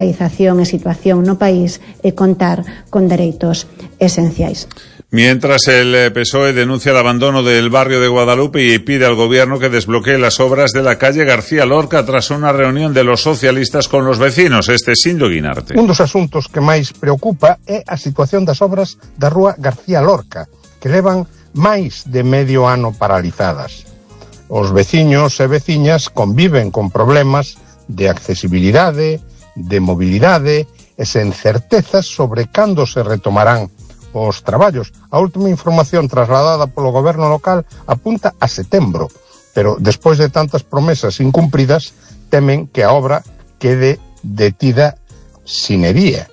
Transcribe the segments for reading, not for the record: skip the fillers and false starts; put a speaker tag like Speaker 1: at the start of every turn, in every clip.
Speaker 1: e situación no país e contar con dereitos esenciais.
Speaker 2: Mientras el PSOE denuncia el abandono del barrio de Guadalupe y pide al gobierno que desbloquee las obras de la calle García Lorca tras una reunión de los socialistas con los vecinos. Este es Sindo Guinarte.
Speaker 3: Un dos asuntos que máis preocupa é a situación das obras da rúa García Lorca, que levan máis de medio ano paralizadas. Os veciños e veciñas conviven con problemas de accesibilidade, de mobilidade e sen certezas sobre cando se retomarán os traballos. A última información trasladada polo goberno local apunta a setembro, pero despois de tantas promesas incumpridas, temen que a obra quede detida sine die.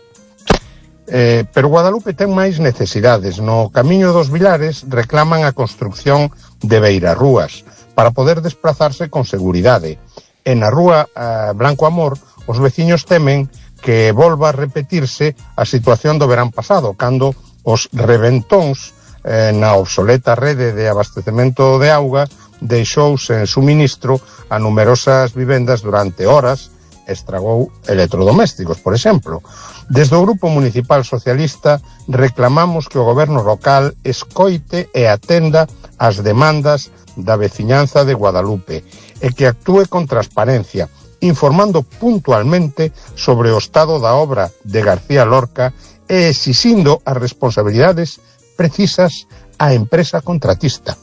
Speaker 3: Pero Guadalupe ten máis necesidades. No Camiño dos Vilares reclaman a construcción de beirarrúas para poder desplazarse con seguridade. E na rúa Blanco Amor, os veciños temen que volva a repetirse a situación do verán pasado, cando os reventóns na obsoleta rede de abastecemento de auga deixou sen suministro a numerosas vivendas durante horas e estragou electrodomésticos, por exemplo. Desde o Grupo Municipal Socialista reclamamos que o goberno local escoite e atenda as demandas da veciñanza de Guadalupe e que actúe con transparencia, informando puntualmente sobre o estado da obra de García Lorca e exixindo as responsabilidades precisas á empresa contratista.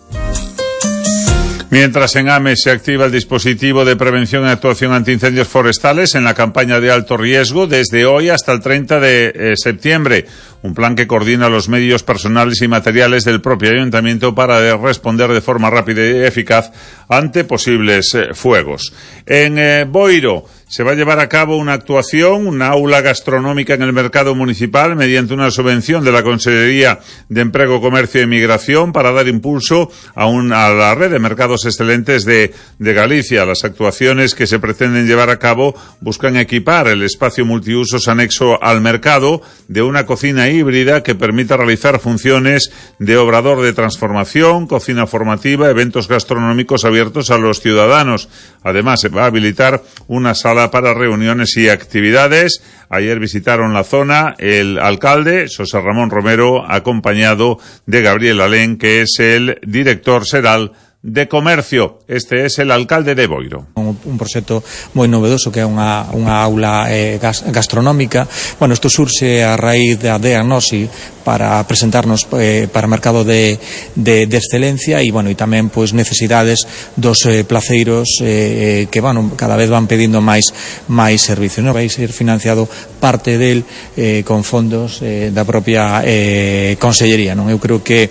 Speaker 2: Mientras en AME se activa el dispositivo de prevención y actuación ante incendios forestales en la campaña de alto riesgo desde hoy hasta el 30 de septiembre. Un plan que coordina los medios personales y materiales del propio ayuntamiento para responder de forma rápida y eficaz ante posibles fuegos. En Boiro se va a llevar a cabo una actuación, una aula gastronómica en el mercado municipal mediante una subvención de la Consellería de Empleo, Comercio y Migración para dar impulso a la red de mercados excelentes de Galicia. Las actuaciones que se pretenden llevar a cabo buscan equipar el espacio multiusos anexo al mercado de una cocina híbrida que permita realizar funciones de obrador de transformación, cocina formativa, eventos gastronómicos abiertos a los ciudadanos. Además, se va a habilitar una sala para reuniones y actividades. Ayer visitaron la zona el alcalde, José Ramón Romero, acompañado de Gabriel Alén, que es el director xeral de Comercio. Este es el alcalde de Boiro.
Speaker 4: Un proxecto moi novedoso que é unha aula gastronómica. Bueno, isto surxe a raíz da diagnosi para presentarnos para o mercado de excelencia e, bueno, e tamén pois necesidades dos placeiros que cada vez van pedindo máis servicios, non? Vai ser financiado parte del con fondos da propia Consellería, non? Eu creo que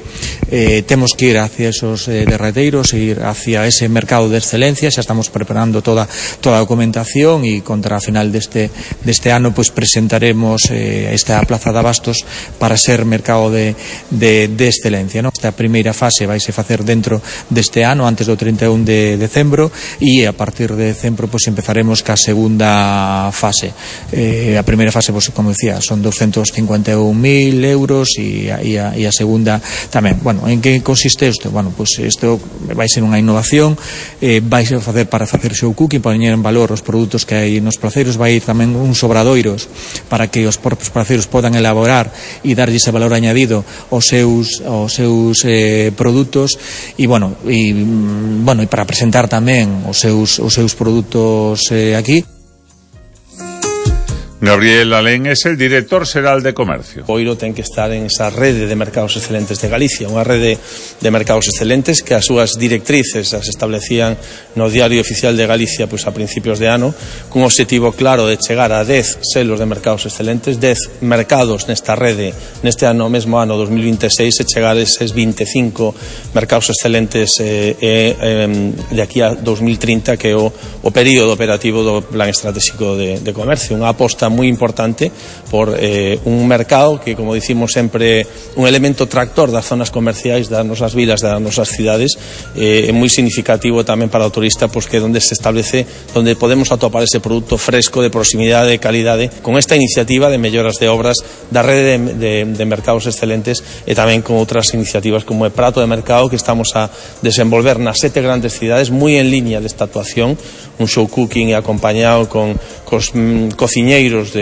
Speaker 4: temos que ir hacia esos derreteiros, ir hacia ese mercado de excelencia. Xa estamos preparando toda a documentación e contra a final deste ano pois presentaremos esta plaza de abastos para ser mercado de excelencia, non? Esta primeira fase vai se facer dentro deste ano, antes do 31 de decembro, e a partir de decembro pois empezaremos ca segunda fase. A primeira fase, pois, como decía, son 251.000 euros e a segunda tamén. Bueno, en que consiste isto? Bueno, pois isto vai ser unha innovación, vai ser para facer show cooking, para poñer en valor os produtos que hai nos placeiros, vai ir tamén uns obradoiros para que os propios placeiros podan elaborar e darlle ese valor añadido aos seus produtos e para presentar tamén os seus produtos aquí.
Speaker 2: Gabriel Alén es el director xeral de Comercio.
Speaker 5: Boiro ten que estar en esa rede de mercados excelentes de Galicia, unha rede de mercados excelentes que as súas directrices as establecían no Diario Oficial de Galicia pois a principios de ano, cun objetivo claro de chegar a 10 selos de mercados excelentes, 10 mercados nesta rede neste ano, mesmo ano 2026, e chegar a eses 25 mercados excelentes de aquí a 2030, que é o período operativo do Plan Estratégico de Comercio. Unha aposta moi importante por un mercado que, como dicimos sempre, un elemento tractor das zonas comerciais das nosas vilas, das nosas cidades, é moi significativo tamén para o turista, pois que é onde se establece, onde podemos atopar ese produto fresco, de proximidade, de calidade, con esta iniciativa de melloras de obras da rede de mercados excelentes, e tamén con outras iniciativas como o prato de mercado que estamos a desenvolver nas 7 grandes cidades, moi en liña desta actuación, un show cooking acompañado con cos cociñeiros